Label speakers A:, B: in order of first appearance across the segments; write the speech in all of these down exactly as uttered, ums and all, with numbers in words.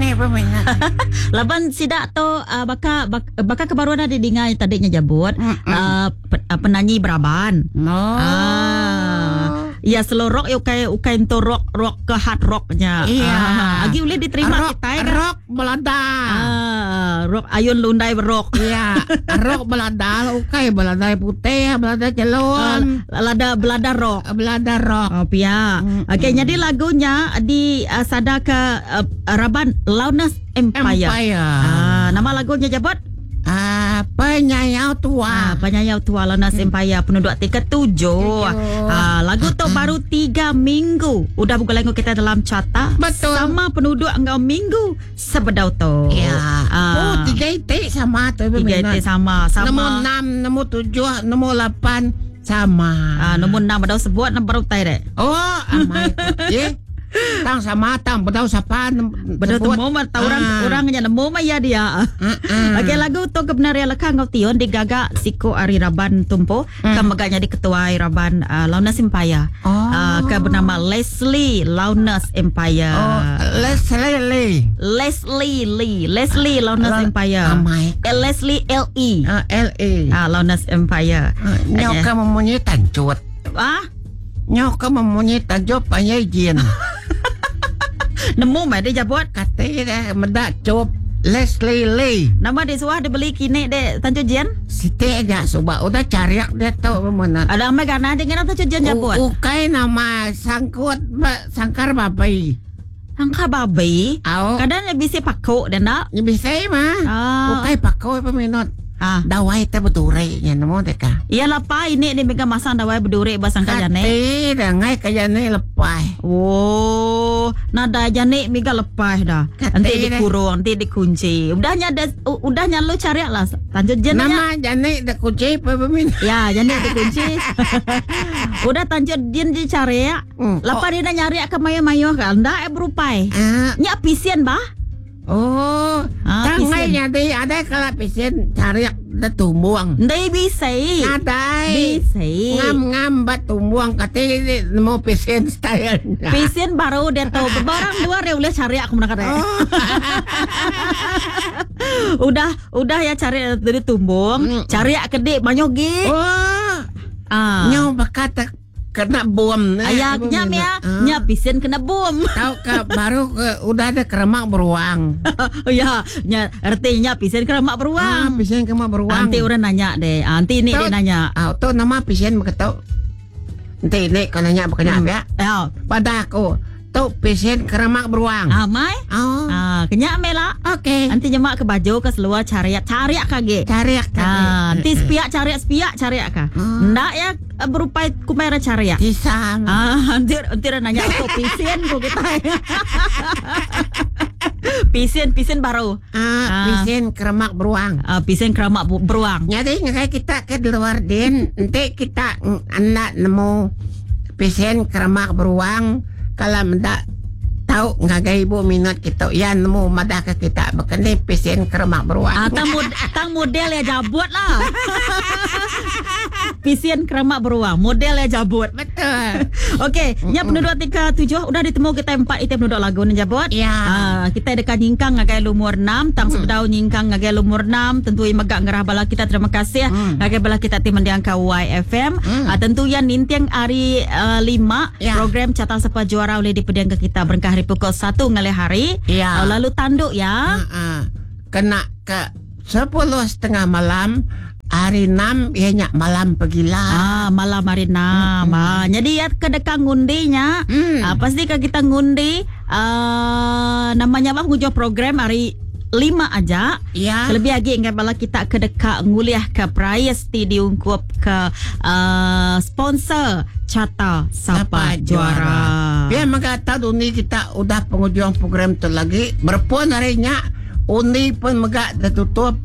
A: Kini peminat.
B: Laban sidak tu uh, baka bak, baka kebaruan ada dingai tadi nya jabut uh, penyanyi beraban.
A: No.
B: Ah. Ya slow rock ya ukai ukai untuk rock rock ke hard rocknya.
A: Iya.
B: Ah, agi boleh diterima
A: rock,
B: kita kan?
A: Rock belada.
B: Ah, rock ayun lundai rock.
A: Iya, rock belada ukai belada putih, belada celon.
B: Uh, lada belada rock.
A: Belada rock.
B: Oh pia.
A: Mm,
B: Okey, jadi lagunya di uh, sada ke uh, Raban Loudness Empire.
A: Empire.
B: Ah, nama lagunya jabut?
A: Ah, Penyayau Tua.
B: Ah, Penyayau Tua Loudness hmm. Empire penduduk tiga tujuh. Ah, lagu tu baru tiga minggu. Udah buka lagu kita dalam carta.
A: Betul.
B: Sama penduduk engkau minggu sebedau tu.
A: Ya.
B: Ah.
A: Oh, tiga itik sama tu.
B: Tiga itik sama. Sama.
A: Nombor enam, nombor tujuh, nombor lapan sama.
B: Ah, nombor enam bedau sebut nombor utai dek.
A: Oh, amai. Ye. Tang sama tang bedau sapa
B: bedau temu mah tau orang
A: Ah.
B: orang nya nemu mah ya dia.
A: Ah,
B: Okey lagu tu kebenaran lekang ngau tion digaga siko ari Raban Tumpo mm. ke mega jadi ketua Raban uh, Loudness Empire.
A: Oh.
B: Uh, ke bernama Leslie Loudness Empire.
A: Oh, Leslie Lee.
B: Leslie Lee, Leslie Loudness
A: La-
B: Empire.
A: Amai.
B: Eh, Leslie L E.
A: Ah, L E.
B: Ah, Loudness Empire.
A: Ah, Nyau ka memunyi tancut.
B: Ah,
A: Nyau ka memunyi tancut panyai jin.
B: nemu mah dia jabut.
A: Kata dia mendak cup Leslie Lee.
B: Nama dia suah dia beli kini dek tancut jian.
A: Siti aja subak udah cariak dia tau pemenat.
B: Ada amai gana dengan tancut jian jabut.
A: U- Ukai nama sangkut ba, sangkar babai.
B: Angka babi.
A: Au.
B: Kadang dia bisa pakuk dan nak.
A: Ni bisa mah.
B: Ah.
A: Ukai pakau peminat.
B: Ah.
A: Dawai te berduri nya nemu deka.
B: Iya lepai ini ni mega masang dawai berduri basang kajane.
A: Kati dah ngai kajane lepai.
B: Oh, nada jane mega lepai dah.
A: Kati
B: Nanti
A: dah.
B: dikurung, nanti dikunci. Udahnya ada udahnya lu cari lah. Tanjut jen
A: Nama jane dah kunci peminat.
B: Ya, jane dikunci. Udah tanjut jen dicari ya.
A: Hmm.
B: Lepas dia nak nyari ke mayo-mayo kan, ndak eh berupai.
A: Ah.
B: Nyak pisian bah.
A: Oh,
B: Ah,
A: tangai
B: pisian.
A: jadi ada kalau pisian cari dah tumbuang.
B: Ndai bisa.
A: Ada.
B: Bisa.
A: Ngam-ngam bat tumbuang kati nemu pisian style.
B: Pisian baru dia tahu. Barang dua dia boleh cari aku nak kata.
A: Oh.
B: Udah udah ya cari dari tumbung,
A: Mm.
B: cari kedik banyak gi.
A: Oh,
B: Ah.
A: nyau bakat kena bom.
B: Ayah nya ya, nya pisian kena bom.
A: Tahu ke baru ke, udah ada keremak beruang.
B: Oh ya, nya artinya pisian keremak
A: Ah,
B: beruang.
A: pisian keremak beruang.
B: Nanti orang nanya deh, nanti ini
A: Tahu-
B: dia nanya.
A: Ah, tu nama pisian begitu. Nanti ini kau nanya bukannya apa ya?
B: Ya,
A: Pada aku, tu pisian keremak beruang.
B: ah mai.
A: Oh,
B: Ah, kenyak mela.
A: okey.
B: Nanti nyemak ke baju ke seluar cariak cariak kage.
A: Cari kage.
B: Ah, nanti sepiak cariak sepiak cariak ka.
A: Hmm.
B: Ndak ya berupai kumera cariak.
A: Tisam.
B: Ah, nanti nanti orang nanya aku pisian ku kita. Pisian pisian baru.
A: Ah,
B: Ah.
A: pisian keremak beruang.
B: Ah, pisian keramak bu- beruang.
A: Jadi ngakai kita ke luar din, nanti kita anak nemu pisian keremak beruang kalau mendak tahu ngagai ibu minat kita ya nemu madah ke kita bekeni pisian keremak beruang.
B: Ah, tang, mod, tang model ya jabut lah. Pisian keramak beruang, model ya jabut.
A: Betul.
B: Okey, nya penduduk tiga tujuh udah ditemu kita empat item penduduk lagu ni jabut.
A: Ya.
B: Ah, kita dekat nyingkang ngagai lumur enam, tang sebedau nyingkang ngagai lumur enam, tentu megak ngerah bala kita terima kasih
A: Hmm.
B: ngagai bala kita tim mendiang ke Y F M.
A: Hmm.
B: Ah, tentu yang nintiang hari uh, lima
A: Ya.
B: program Carta Sapa Juara oleh dipediang ke kita berengkah hari pukul satu ngalih hari.
A: Ya.
B: Ah, lalu tanduk ya.
A: Ah, ah. Kena ke sepuluh setengah malam hari enam ianya malam pergilah.
B: Ah, malam hari enam. Ah, jadi ya kedekang ngundinya.
A: Hmm.
B: Ah, pasti ke kita ngundi ah, namanya apa ngujo program hari lima aja.
A: Ya.
B: Lebih lagi ingat bala kita ke dekat nguliah ke prize ti diungkup ke uh, sponsor Carta Sapa
A: Sapa
B: Juara.
A: Juara. Biar mengata undi kita udah penghujung program tu lagi. Berpun harinya undi pun megak tertutup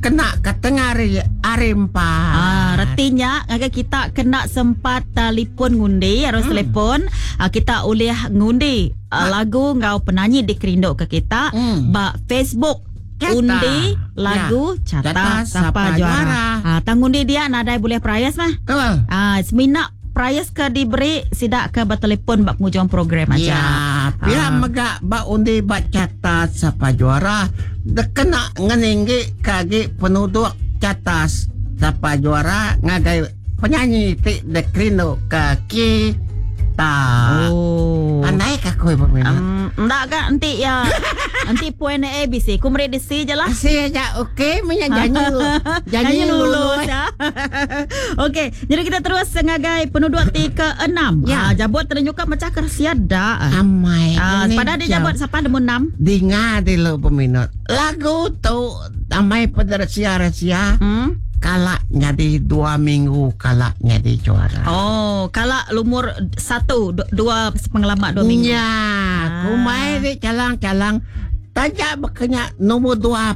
A: kena ke tengah hari hari empat.
B: Ah, retinya agak kita kena sempat telefon ngundi harus hmm. telefon ah, kita boleh ngundi ah, lagu ngau penyanyi dikerinduk ke kita
A: Hmm.
B: ba Facebook
A: Carta.
B: Undi lagu
A: Ya.
B: Carta
A: Carta
B: Sapa
A: Sapa
B: Juara.
A: Juara.
B: Ah, tang undi dia nadai boleh perayas mah.
A: Betul.
B: Ah, semina prize ke diberi sidak ke bertelefon bak penghujung program aja.
A: Ya, pihak
B: Ah.
A: mega ba undi ba carta siapa juara dekena ngeninggi kagi penduduk carta siapa juara ngagai penyanyi ti dekrino ke kita.
B: Oh.
A: Pandai ka aku ibu minat.
B: Um, enggak kak, nanti ya. Nanti poin A B C. Ku meri di C je lah.
A: Kasih aja okey punya janji lu. Janji
B: Janji
A: lulus.
B: lulus ya. Okey, jadi kita terus ngagai penduduk ti ke enam.
A: Ya.
B: Ah, jabut ternyuka macam kersia dak.
A: Amai.
B: Ah,
A: ini
B: pada dia
A: jauh.
B: jabut siapa nombor enam?
A: Dengar dulu peminat. Lagu tu amai pada rahsia-rahsia.
B: Hmm?
A: Kalak jadi dua minggu kalak jadi juara.
B: Oh, kalak lumur satu, du- dua pengalaman dua minggu.
A: Ya,
B: Ah.
A: kumai di calang-calang tajak berkenya nombor dua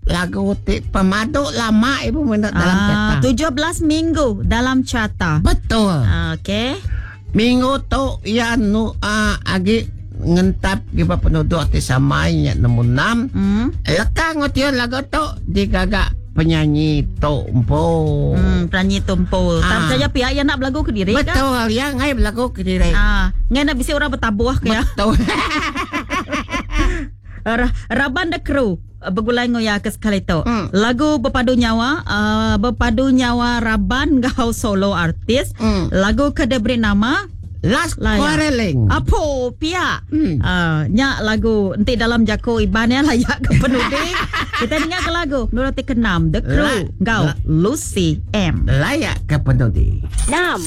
A: lagu ti pemadu lama ibu minat dalam
B: Ah,
A: carta.
B: tujuh belas minggu dalam carta.
A: Betul.
B: Ah, okey.
A: Minggu tu ya nu ah, agi ngentap giba penduduk ti samai nya nombor enam.
B: Hmm.
A: Lekang ngotion lagu tu digagak penyanyi Tok Empo.
B: Hmm, penyanyi Tumpo. Tak
A: Ah.
B: percaya pihak yang nak berlagu ke diri kan?
A: Betul, yang ngai berlagu ke diri.
B: Ah, ngai nak bisi orang bertabuh ke ya.
A: Betul.
B: Ra- Raban the Crew uh, bergulai ngoya ke sekali tu.
A: Hmm.
B: Lagu Berpadu Nyawa, uh, Berpadu Nyawa Raban gau solo artis.
A: Hmm.
B: Lagu ke dia beri nama
A: Last
B: Layak.
A: quarreling.
B: Apo pia.
A: Hmm.
B: Uh, nyak lagu nanti dalam jako iban ya layak ke penudi. Kita dengar ke lagu Nurul keenam The Crew
A: La-
B: gau
A: la-
B: Lucy M.
A: Layak ke penudi.
C: enam.